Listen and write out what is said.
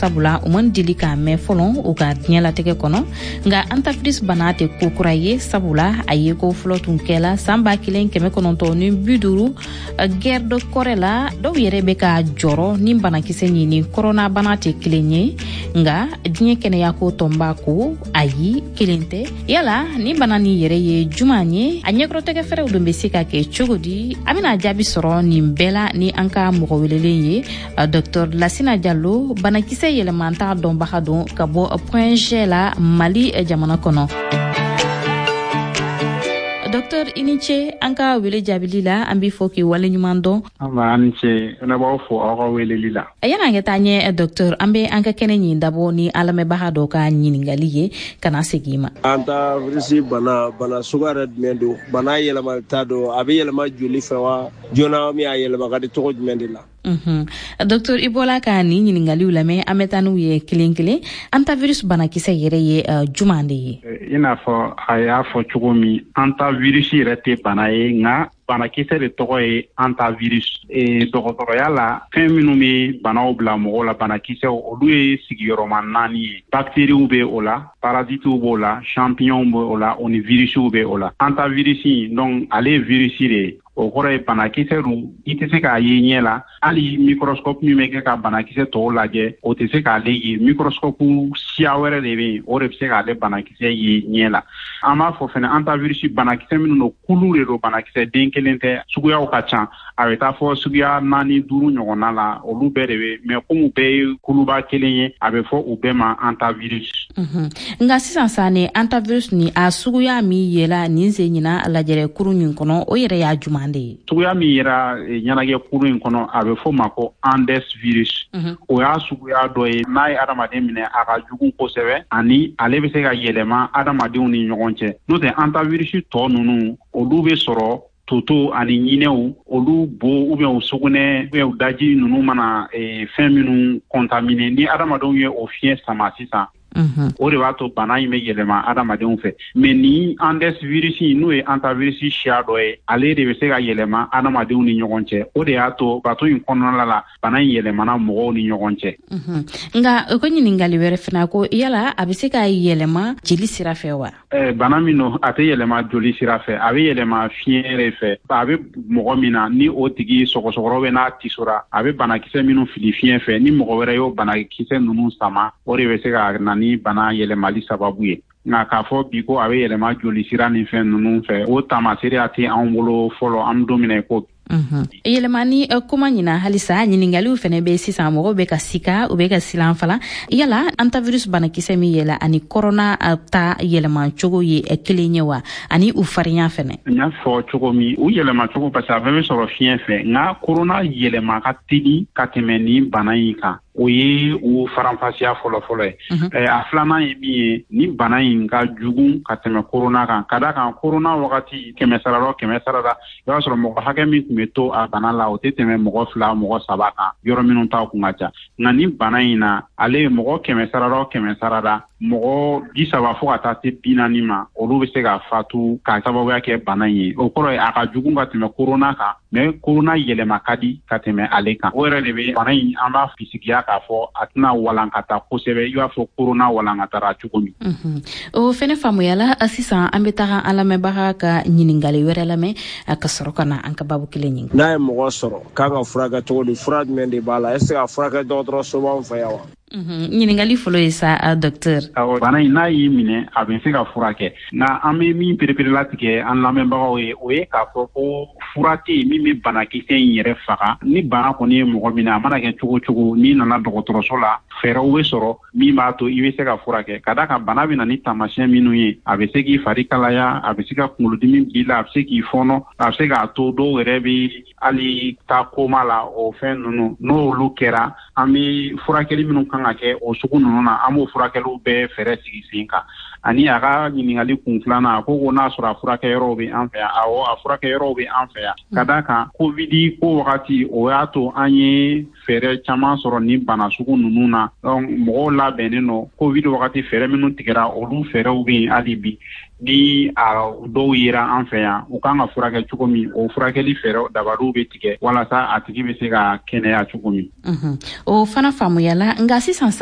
Sabula u man deli k'a mɛn fɔlɔ u ka diɲɛlatigɛ kɔnɔ. Nka hantavirus bana tɛ ko kura ye, sabula a ye ko fɔlɔ tun kɛla san 1950 Guerre de Corée la. Dɔw yɛrɛ bɛ ka jɔrɔ ni banakisɛ nin ni koronabana tɛ kelen ye, nka diɲɛ kɛnɛyako tɔnba ko ayi, kelen tɛ. Yala ni bana nin yɛrɛ ye juman ye? A ɲɛkɔrɔtɛgɛ fɛɛrɛw dun bɛ se ka kɛ cogo di? An bɛna jaabi sɔrɔ nin bɛɛ la ni an ka mɔgɔ welelen ye, Dr Lasina Jalo, banakisɛ yɛlɛmanta dɔnbaga don ka bɔ Point G la, Mali jamana kɔnɔ. Docteur, i ni ce an ka wele jaabili la. An b'i fo k'i waleɲuman dɔn. An ni ce, ne b'aw fo aw ka weleli la. Yanni an ka taa ɲɛ, docteur, an bɛ an ka kɛnɛ ɲin dabɔ ni an lamɛnbaga dɔ ka ɲininkali ye ka na segin i ma. Hantavirus bana, bana suguya yɛrɛ jumɛn don? Bana yɛlɛmata don, a bɛ yɛlɛma joli fɛ wa joona min a yɛlɛma ka di cogo jumɛn de la? Docteur, i bɔla ka nin ɲininkaliw lamɛn, an bɛ taa n'u ye kelen kelen. Hantavirus banakisɛ yɛrɛ ye juman de ye? I n'a fɔ a y'a fɔ cogo min, hantavirus yɛrɛ tɛ bana ye, nka banakisɛ de tɔgɔ ye hantavirus. Dɔgɔtɔrɔya la, fɛn minnu bɛ banaw bila mɔgɔw la, banakisɛw, olu ye sigiyɔrɔma naani ye. Bakteriw bɛ o la, parasitiw b'o la, champignonw bɛ o la, o ni virisiw bɛ o la. Hantavirus, donc, ale ye virisi de ye. O kɔrɔ ye banakisɛ don, i tɛ se k'a ye ɲɛ la. Hali microscope min bɛ kɛ ka banakisɛ tɔw lajɛ, o tɛ se k'ale ye. Microscope siya wɛrɛ de bɛ yen, o de bɛ se k'ale banakisɛ ye ɲɛ la. An b'a fɔ fɛnɛ, hantavirus banakisɛ minnu don, kulu de don, banakisɛ den kelen tɛ, suguyaw ka ca. A bɛ taa fɔ suguya naani, duuru ɲɔgɔnna la. Olu bɛɛ de bɛ mɛ, komi bɛɛ ye kuluba kelen ye, a bɛ fɔ u bɛɛ ma hantavirus. Nka sisan sa, ni hantavirus ni a suguya min yela nin sen ɲina lajɛrɛ kurun nin kɔnɔ, o yɛrɛ y'a juman de ye? Suguya min yera ɲɛnajɛ kurun in kɔnɔ, a bɛ fɔ ma ko Andes virus. O y'a suguya dɔ ye, n'a ye adamaden minɛ, a ka jugu kosɛbɛ, ani ale bɛ se ka yɛlɛma adamadenw ni ɲɔgɔn cɛ. N'o tɛ, hantavirus tɔ ninnu, olu bɛ sɔrɔ toto ani ɲinɛw, olu bo ou bien u sugunɛ ou bien u daji ninnu mana fɛn minnu contaminer, ni adamadenw ye o fiɲɛ sama sisan, o de b'a to bana in bɛ yɛlɛma adamadenw fɛ. Mais ni Andes virus, n'o ye hantavirus siya dɔ ye, ale de bɛ se ka yɛlɛma adamadenw ni ɲɔgɔn cɛ. O de y'a to bato in kɔnɔna la, bana in yɛlɛmana mɔgɔw ni ɲɔgɔn cɛ. Nka o ko ɲininkali wɛrɛ fana ko, yala a bɛ se ka yɛlɛma jeli sira fɛ wa? Bana min don, a tɛ yɛlɛma joli sira fɛ, a bɛ yɛlɛma fiɲɛ de fɛ. A bɛ mɔgɔ min na, ni o tigi sɔgɔsɔgɔrɔ bɛ n'a tisora, a bɛ banakisɛ minnu fili fiɲɛ fɛ, ni mɔgɔ wɛrɛ y'o banakisɛ ninnu sama, o de bɛ se ka na ni bana yɛlɛmali sababu ye. Nka k'a fɔ bi ko a bɛ yɛlɛma joli sira ni fɛn ninnu fɛ, o taamaseereya tɛ anw bolo fɔlɔ, an bɛ don min na i ko Yɛlɛmani kuma ɲina halisa, ɲiningaliw fɛnɛ bɛ sisan. Mɔgɔw bɛ ka sika, u bɛ ka silan fana. Yala hantavirus banakisɛ min yela ani korona ta yɛlɛma cogo ye kelen ye wa, ani u farinya fɛnɛ? N y'a fɔ cogo min, u yɛlɛma cogo, parce que a bɛɛ bɛ sɔrɔ fiɲɛ fɛ, nka korona yɛlɛma ka teli ka tɛmɛ nin bana in kan. O ye o faranfasiya fɔlɔfɔlɔ ye. A filanan ye min ye, ni bana in ka jugu ka tɛmɛ korona kan, ka da kan korona wagati, 100 sarada o 100 sarada, i b'a sɔrɔ mɔgɔ hakɛ min tun bɛ to a bana la, o tɛ tɛmɛ mɔgɔ fila, mɔgɔ saba kan, yɔrɔ minnu ta kun ka ca. Nka ni bana in na, ale ye mɔgɔ 100 sarada o 100 sarada, mɔgɔ 30 fo ka taa se 40 ma, olu bɛ se ka fatu ka sababuya kɛ bana in ye. O kɔrɔ ye a ka jugu ka tɛmɛ korona kan, mais korona yɛlɛma ka di ka tɛmɛ ale kan. O yɛrɛ de bɛ bana in, an b'a bisigiya k'a fɔ a tɛna walankata kosɛbɛ i b'a fɔ korona walankatara cogo min. O fɛnɛ faamuyala. Sisan an bɛ taga an lamɛnbaga ka ɲininkali wɛrɛ lamɛn ka sɔrɔ ka na an ka babu kelen ɲini. N'a ye mɔgɔ sɔrɔ, k'an ka furakɛ cogo di? Fura jumɛn de b'a la? Est ce que a furakɛ dɔgɔtɔrɔso b'an fɛ yan wa? Ɲininkali fɔlɔ ye sa, docteur. Awɔ, bana in, n'a y'i minɛ, a bɛ se ka furakɛ. Nka an bɛ min pereperelatigɛ an lamɛnbagaw ye, o ye k'a fɔ ko fura tɛ yen min bɛ banakisɛ in yɛrɛ faga. Ni bana kɔni ye mɔgɔ minɛ, a mana kɛ cogo cogo, n'i nana dɔgɔtɔrɔso la, fɛɛrɛw bɛ sɔrɔ min b'a to i bɛ se ka furakɛ. Ka d'a kan bana bɛ na ni taamasiyɛn minnu ye, a bɛ se k'i fari kalaya, a bɛ se ka kunkolodimi b'i la, a bɛ se k'i fɔɔnɔ, a bɛ se k'a to dɔw yɛrɛ bɛ hali taa koma la. O fɛn ninnu, n'olu kɛra, an bɛ furakɛli minnu kan ka kɛ o sugu ninnu na, an b'o furakɛliw bɛɛ fɛɛrɛ sigi sen kan. Ani a ka ɲininkali kun filanan, a ko n'a sɔrɔ a furakɛyɔrɔw bɛ an fɛ yan, awɔ, a furakɛyɔrɔw bɛ an fɛ yan. Ka d'a kan Covid ko wagati, o y'a to an ye fɛɛrɛ caman sɔrɔ nin bana sugu ninnu na. Donc mɔgɔw labɛnnen don. Covid wagati fɛɛrɛ minnu tigɛra, olu fɛɛrɛw bɛ yen hali bi. Ni a dɔw yera an fɛ yan, u kan ka furakɛ cogo min, o furakɛli fɛɛrɛw dabaliw bɛ tigɛ walasa a tigi bɛ se ka kɛnɛya cogo min. O fana faamuyala. Nka sisan sa